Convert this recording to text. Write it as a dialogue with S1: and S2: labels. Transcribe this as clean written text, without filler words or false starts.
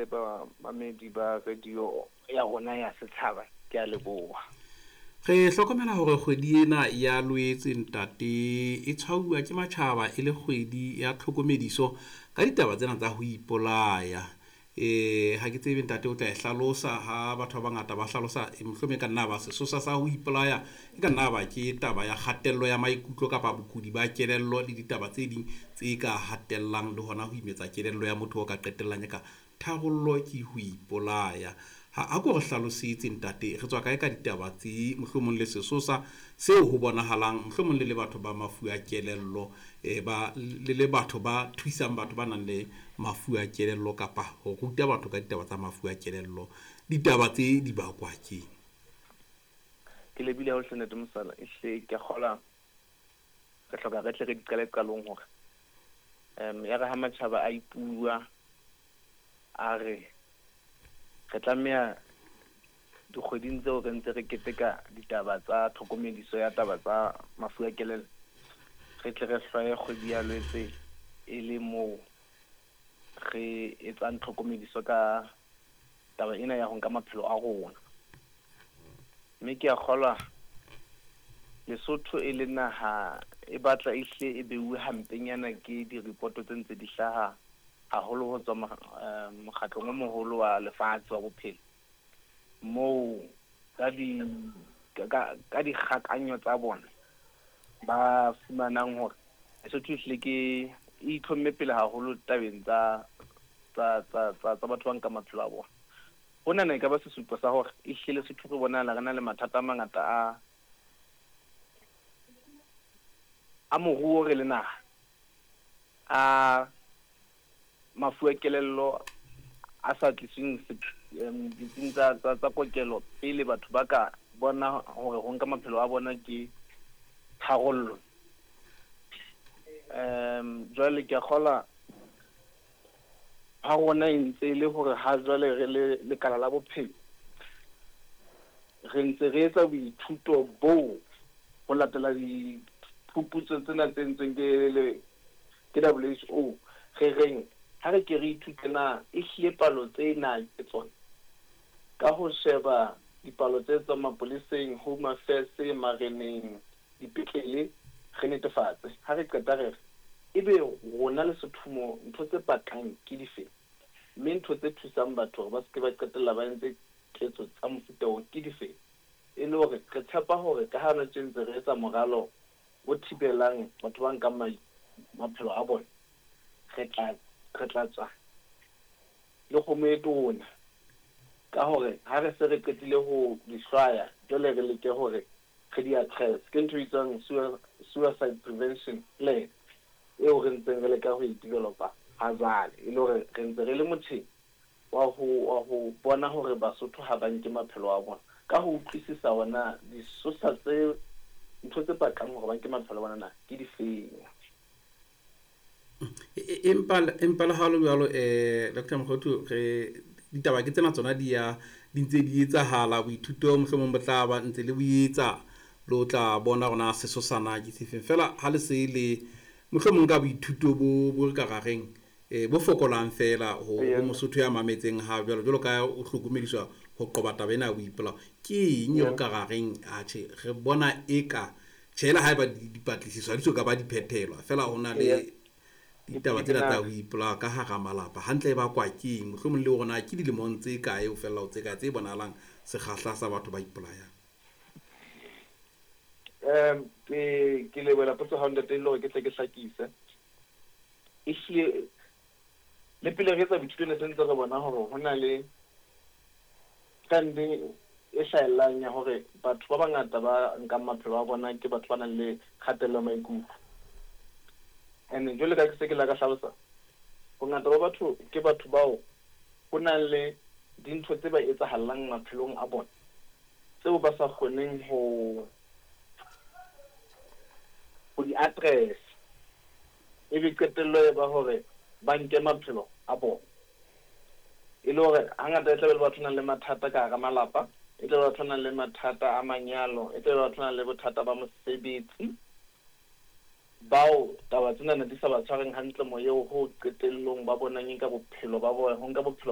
S1: Bamamedi ba radio ya rona ya setshaba, ke a leboha.
S2: Re hlokomela hore kgwedi ena ya Loetse, ntate, e tshwauwa ke matjhaba e le kgwedi ya tlhokomediso ka ditaba tsena tsa ho ipolaya. Ha ke tsebe, ntate, o tla e hlalosa ha batho ba bangata ba hlalosa, mohlomong e ka nna ba sesosa sa ho ipolaya, e ka nna ba ke taba ya kgatello ya maikutlo kapa bokudi ba kelello le ditaba tse ding tse ka hatellang le hona ho imetsa kelello ya motho o ka qetellang e ka tharollo ke ho ipolaya. Ha ko re hlalosetse, ntate, re tswa kae ka ditaba tse, mohlomong le sesosa seo ho bonahalang mohlomong le le batho ba mafu a kelello, ba le batho ba thusang batho ba nang le mafu a kelello kapa ho ruta batho ka ditaba tsa mafu a kelello, ditaba tse di bakwa ke?
S1: Ke lebile ha o hle, ntate Mosala. Ehlile, ke a kgolwa re hloka re tle re di qale qalong hore ya re ha matjhaba a ipua a re re tlameha dikgweding tseo re ntse re keteka ditaba tsa tlhokomediso ya taba tsa mafu a kelello, re tle re hlwaye kgwedi ya Lwetse e le moo re etsang tlhokomediso ka taba ena ya ho nka maphelo a rona. Mme ke a kgolwa Lesotho e le naha e batla e hle e beuwe hampenyana ke diripoto tse ntse di hlaha haholo ho tswa mokgatlong o moholo wa lefatshe wa bophelo, moo ka dikgakanyo tsa bona ba fumanang hore Lesotho ehlile ke e itlhomme pele haholo tabeng tsa batho ba nkang maphelo a bona. Honana e ka ba sesupo sa hore ehlile Lesotho re bonahala re na le mathata a mangata a moruo, re le naha, a mafu a kelello a sa tlisweng ditsing tsa kokelo pele batho ba ka bona hore ho nka maphelo a bona ke tharollo. Jwale ke a kgolwa ha rona e ntse e le hore ha jwale re le lekala la bophelo, re ntse re etsa boithuto boo ho latela diphuputso tsena tse entsweng ke WHO. Re reng ha re ke re ithute na ehlile palo tsena ke tsona, ka ho sheba dipalo tse tswang mapoleseng, Home Affairs, mareneng, dipetlele, re netefatse. Ha re qeta re re ebe rona Lesotho mo ntho tse pakang ke dife, mme ntho tse thusang batho hore ba se ke ba qetella ba entse ketso tsa mofuta oo ke dife, e le hore re tshepa hore ka ha hona tje ntse re etsa moralo o thibelang batho ba nkang maphelo a bona, re tla tswa le kgomo e tona ka hore ha re se re qetile ho di hlwaya, jwale re leke hore re di address. Ke ntho e bitswang suicide prevention plan eo re ntseng re leka ho e developa ha jwale, e le hore re ntse re le motjheng wa ho bona hore Basotho ha ba nke maphelo a bona, ka ho utlwisisa hona disosa tse ntho tse bakang hore ba nke maphelo a bona na ke difeng.
S2: Empa le ha le jwalo, Dr Mokhothu, re ditaba ke tsena tsona di ya di ntse di etsahala. Boithuto mohlomong bo tla ba ntse le bo etsa, le o tla bona hore na sesosana ke sefeng. Fela ha le se le mohlomong ka boithuto bo re ka ra reng bo fokolang fela ho Mosotho ya mametseng ha jwalo, jwalo ka o hlokomediswa ho qoba taba ena ya boipolao, ke eng eo ka ra reng atjhe, re bona eka tjhela haeba dipatlisiso ha di so ka ba di phethelwa, fela ho na le ditaba tsena tsa ho ipolaya ka hara malapa, hantle e bakwa ke eng, mohlomong le hore na ke dilemong tse kae ho fella ho tse kae tse bonahalang sekgahla sa batho ba ipolayang?
S1: Ke lebohela potso ha, ntate, e le hore ke tle ke hlakise. Ehlile le pele re etsa boithuto ne se ntse re bona hore ho na le trend e hlahellang ya hore batho ba bangata ba nkang maphelo a bona ke batho ba nang le kgatello ya maikutlo. And jwale ka ke se ke la ka hlalosa, bongata ba batho ke batho bao ho nang le dintho tse ba etsahallang maphelong a bona tseo ba sa kgoneng ho di address, ebe qetello e ba hore ba nke maphelo a bona. E le hore hangata e tlabe le batho nang le mathata ka hara malapa, e tlabe batho nang le mathata a manyalo, e tlabe batho nang le bothata ba mosebetsi, bao taba tsena ne di sa ba tshwareng hantle moyeng, ho qetellong ba bonang e nka bophelo ba bona, ho nka bophelo.